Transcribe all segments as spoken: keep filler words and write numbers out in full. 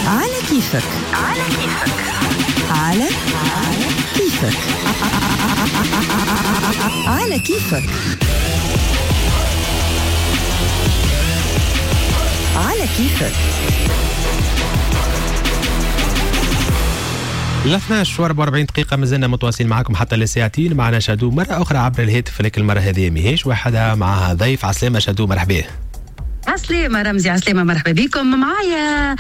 على كيفك، على كيفك، على كيفك، على كيفك، على كيفك. اثناش وأربعة وأربعين دقيقة مازلنا متواصلين معكم حتى لساعتين. معنا شادو مرة أخرى عبر الهاتف، لكن المرة هذه ماهيش وحدها، معها ضيف. عسلامة شادو، مرحبا. عسلامة رمزي، عسلامة، مرحبا بكم. معايا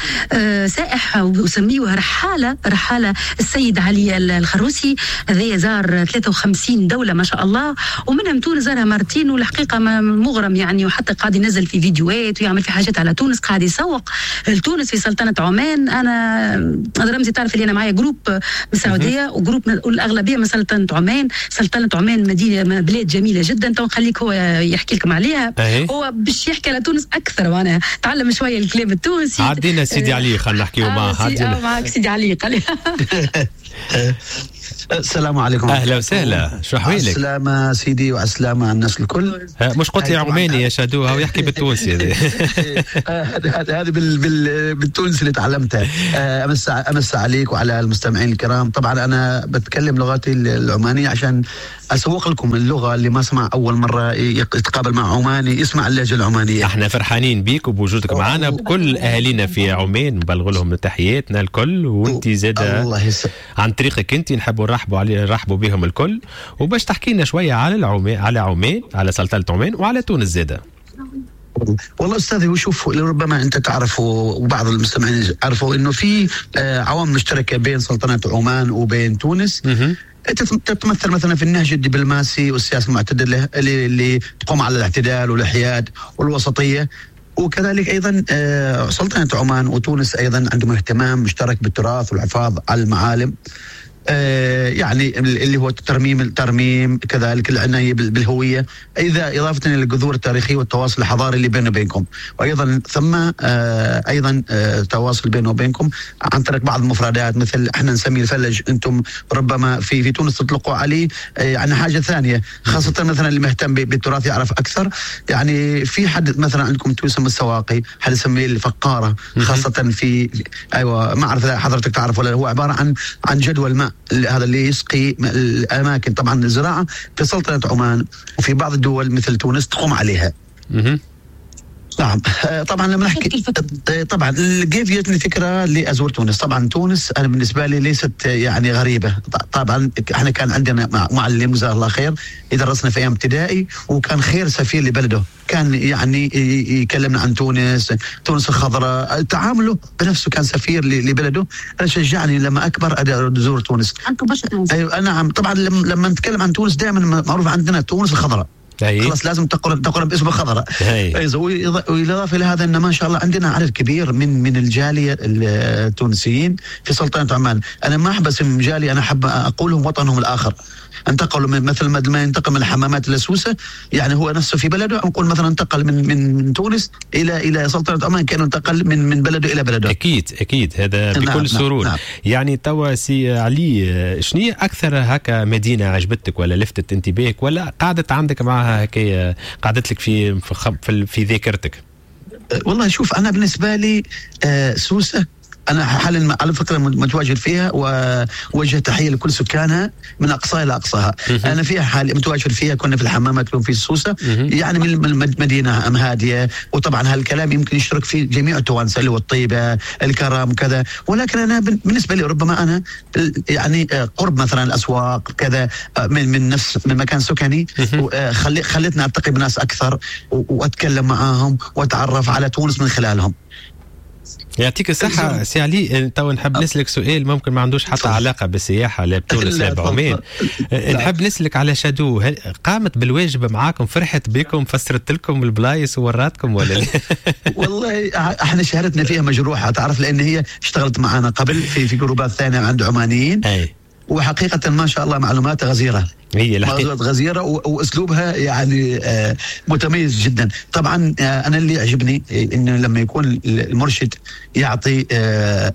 سائح وسميوه رحالة، رحالة السيد علي الخروسي، هذا زار ثلاثة وخمسين دولة ما شاء الله، ومنهم تونس زارها مرتين، والحقيقة مغرم يعني، وحتى قاعد ينزل في فيديوهات ويعمل في حاجات على تونس، قاعد يسوق لتونس في سلطنة عمان. أنا رمزي تعرف اللي أنا معايا groupe من السعودية و groupe الأغلبية من سلطنة عمان. سلطنة عمان مدينة، بلاد جميلة جدا، تو نخليك هو يحكي لكم عليها. هو باش يحكي على تونس اكثر، وانا تعلم شوية الكلام التونسي. عدينا سيدي علي، خلينا نحكيو معاه. عدينا معك سيدي علي، قال السلام عليكم. اهلا وسهلا، شو احوالك؟ السلامة سيدي، وعلى السلامة الناس الكل. مش قلت لي عماني يا شادو، هو يحكي بالتونسي. هذا هذا بالتونسي اللي تعلمتها. امس امس عليك وعلى المستمعين الكرام. طبعا انا بتكلم لغتي العمانية عشان اسوق لكم اللغة، اللي ما سمع اول مرة يتقابل مع عماني يسمع اللهجة العمانية. احنا فرحانين بيك وبوجودك معنا، بكل اهالينا في عمان نبلغ لهم تحياتنا الكل، وانت زاده عن طريقك انت نحبوا نرحبوا علي نرحبوا بهم الكل، وباش تحكي لنا شوية على العمان، على عمان، على سلطنة عمان وعلى تونس زاده. والله استاذي، وشوف ربما انت تعرف وبعض المستمعين عرفوا انه في عوامل مشتركة بين سلطنة عمان وبين تونس. تتمثل مثلا في النهج الدبلوماسي والسياسة المعتدلة اللي, اللي تقوم على الاعتدال والحياد والوسطيه، وكذلك ايضا سلطنة عمان وتونس ايضا عندهم اهتمام مشترك بالتراث والحفاظ على المعالم، يعني اللي هو الترميم الترميم كذلك العناية بالهوية، اذا اضافه الى الجذور التاريخية والتواصل الحضاري اللي بيننا وبينكم، وايضا ثم ايضا تواصل بيننا وبينكم عن طريق بعض المفردات، مثل احنا نسميه الفلج، انتم ربما في في تونس تطلقوا عليه يعني حاجة ثانية، خاصة مثلا اللي مهتم بالتراث يعرف اكثر. يعني في حد مثلا عندكم تسمى السواقي، حد يسميه الفقاره، خاصة في ايوه ما اعرف حضرتك تعرف ولا، هو عبارة عن عن جدول ماء هذا اللي يسقي الأماكن. طبعا الزراعة في سلطنة عمان وفي بعض الدول مثل تونس تقوم عليها. نعم طبعا لما نحكي طبعا كيف جتني الفكرة لازور تونس. طبعا تونس انا بالنسبة لي ليست يعني غريبة، طبعا احنا كان عندنا معلم جزاه الله خير يدرسنا في ايام ابتدائي، وكان خير سفير لبلده، كان يعني يكلمنا عن تونس، تونس الخضراء، تعامله بنفسه كان سفير لبلده. انا شجعني لما اكبر ازور تونس. ايوه نعم طبعا لما نتكلم عن تونس دائما معروف عندنا تونس الخضراء، خلاص لازم تقرن تقرن باسم الخضراء. والاضافة الى هذا ان ما شاء الله عندنا عدد كبير من من الجالية التونسيين في سلطنة عمان. انا ما احب اسم جالية، انا احب اقولهم وطنهم الاخر. انتقلوا من مثل ما ينتقل من الحمامات لسوسه، يعني هو نفسه في بلده، نقول مثلا انتقل من من تونس الى الى سلطنة عمان، كانه انتقل من من بلده الى بلده. اكيد اكيد هذا بكل نعم سرور. نعم. يعني توا سي علي، شنو اكثر هكا مدينة عجبتك ولا لفتت انتباهك ولا قعدت عندك معها هكا قعدت لك في في, في ذاكرتك؟ والله شوف، انا بالنسبة لي سوسة أنا حاليا على فكرة متواجد فيها، ووجه تحية لكل سكانها من أقصاها إلى أقصاها. أنا فيها حاليا متواجد فيها، كنا في الحمامات في السوسة، يعني من مدينة هادية، وطبعا هالكلام يمكن يشترك فيه جميع التوانسة اللي هو الطيبة الكرم كذا، ولكن أنا بالنسبة لي ربما أنا يعني قرب مثلا الأسواق كذا من من نفس من مكان سكني خلي خلتني ألتقي بناس أكثر وأتكلم معاهم وأتعرف على تونس من خلالهم. يعطيك الصحة سي علي. تو نحب نسألك سؤال ممكن ما عندوش حتى علاقة بالسياحة لا بتونس لا بعمان. نحب نسألك على شادو، قامت بالواجب معاكم، فرحت بكم، فسرت لكم البلايص ووراتكم ولا لا؟ والله احنا شهادتنا فيها مجروحة، تعرف، لأن هي اشتغلت معنا قبل في في جروبات ثانية عند عمانيين. أي. وحقيقة ما شاء الله معلوماتها غزيرة. هي موضوعات غزيرة واسلوبها يعني متميز جدا. طبعا انا اللي يعجبني انه لما يكون المرشد يعطي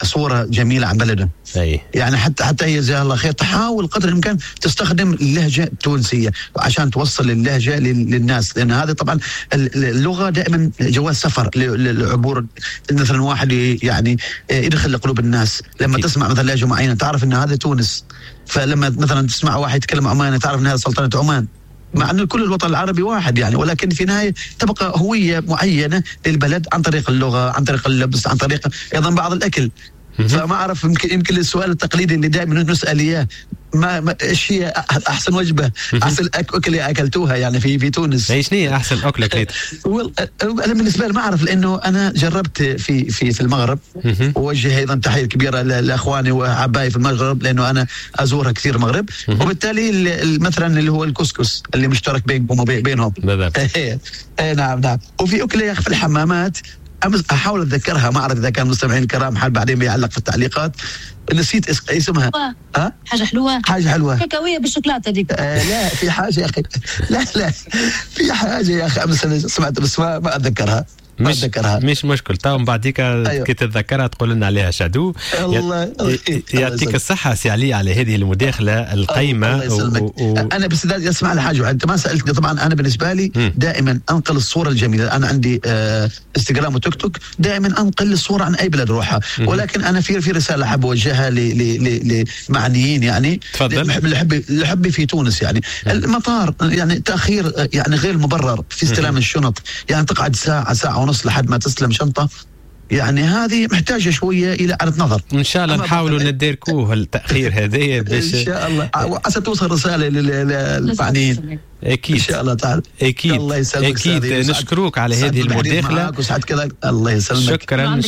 صوره جميلة عن بلده. أي. يعني حتى حتى هي جزاها الله خير تحاول قدر الامكان تستخدم اللهجة التونسية عشان توصل اللهجة للناس، لان هذا طبعا اللغة دائما جواز سفر للعبور. مثلا واحد يعني يدخل لقلوب الناس لما أكيد. تسمع مثلا لهجه معينة تعرف ان هذا تونس، فلما مثلا تسمع واحد يتكلم عماني تعرف ان هذا سلطنة عمان، مع أن كل الوطن العربي واحد يعني، ولكن في النهاية تبقى هوية معينة للبلد عن طريق اللغة، عن طريق اللبس، عن طريق أيضا بعض الأكل. فما أعرف، يمكن يمكن السؤال التقليدي اللي دائما نسأل إياه، ما, ما ايش هي احسن وجبة، احسن اكله اكلتوها يعني في في تونس؟ ايش هي احسن اكله كليتها؟ انا بالنسبة لي ما اعرف، لانه انا جربت في في في المغرب، ووجه ايضا تحية كبيرة لاخواني وحبايبي في المغرب لانه انا ازورها كثير المغرب، وبالتالي مثلا اللي هو الكسكس اللي مشترك بينكم وبينهم. بالضبط. اي نعم نعم. وفي اكله يا اخي في الحمامات، احاول اتذكرها، ما اعرف اذا كان المستمعين الكرام حال بعدين بيعلق في التعليقات، نسيت اسمها. ها؟ حاجة حلوة، حاجة حلوة كاكاويه بالشوكولاته هذيك. آه لا، في حاجة يا اخي، لا لا في حاجة يا اخي امس سمعت بس ما, ما اتذكرها. مش مش مشكل، تو من بعديك أيوه. كي تتذكرها تقول لنا عليها شادو. الله يعطيك الصحة سي علي على هذه المداخلة القيمة. الله يسلمك. و... و... انا بس اسمع لي حاجة، انت ما سالتني. طبعا انا بالنسبة لي م. دائما انقل الصورة الجميلة. انا عندي آه انستغرام وتيك توك، دائما انقل الصورة عن اي بلد روحها، ولكن انا في في رسالة احب اوجهها لمعنيين يعني. تفضل. لحبي في تونس يعني م. المطار يعني تاخير يعني غير مبرر في استلام الشنط، يعني تقعد ساعة ساعة ونص لحد ما تسلم شنطة، يعني هذه محتاجة شوية إلى إعادة نظر. إن شاء الله نحاولوا نداركوه التأخير هذايا باش إن شاء الله عسى توصل رسالة للمعنيين. أكيد إن شاء الله تعالى. أكيد الله يسلمك. أكيد نشكروك على هذه المداخلة. وسعد كذا. الله يسلمك. شكرا. عندك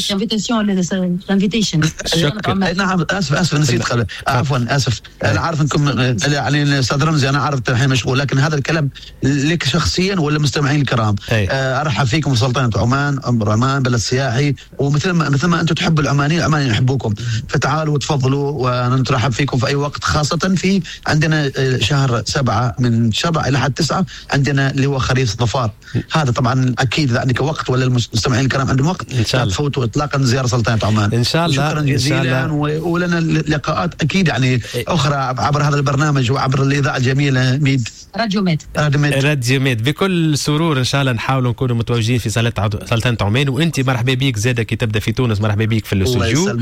invitation. شكرا. نعم اسف اسف نسيت قبل. عفوا اسف. انا عارف انكم يعني استاذ رمزي، انا عارف الحين مشغول، لكن هذا الكلام لك شخصيا ولا المستمعين الكرام. ارحب فيكم في سلطنة عمان، عمان بلد سياحي، ومثل ما مثل ما انتم تحبوا العمانيين، العمانيين يحبوكم، فتعالوا وتفضلوا ونترحب فيكم في اي وقت، خاصة في عندنا شهر سبعة، من سبعة الى حد تسعة عندنا اللي هو خريف الظفار. هذا طبعا اكيد اذا عندك وقت ولا المستمعين الكرام عندهم وقت، ان شاء الله تفوتوا اطلاقا زيارة سلطنة عمان. ان شاء الله. شكرا جزيلا، ولنا لقاءات اكيد يعني اخرى عبر هذا البرنامج وعبر الاذاعة الجميلة ميد راديو ميد. راديو ميد. راديو ميد. بكل سرور ان شاء الله نحاولوا نكونوا متواجدين في سلطنة عمان، وانت مرحبا بك زاده كي تبدا في تونس، مرحبا بك في الاستوديو.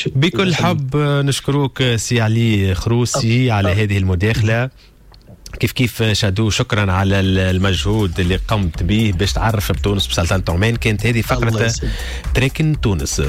بكل حب نشكروك سي علي خروسي على هذه المداخلة. كيف كيف شادو، شكرا على المجهود اللي قمت به باش تعرف بتونس بسلطنة عمان. كانت هذه فقرة تركن تونس.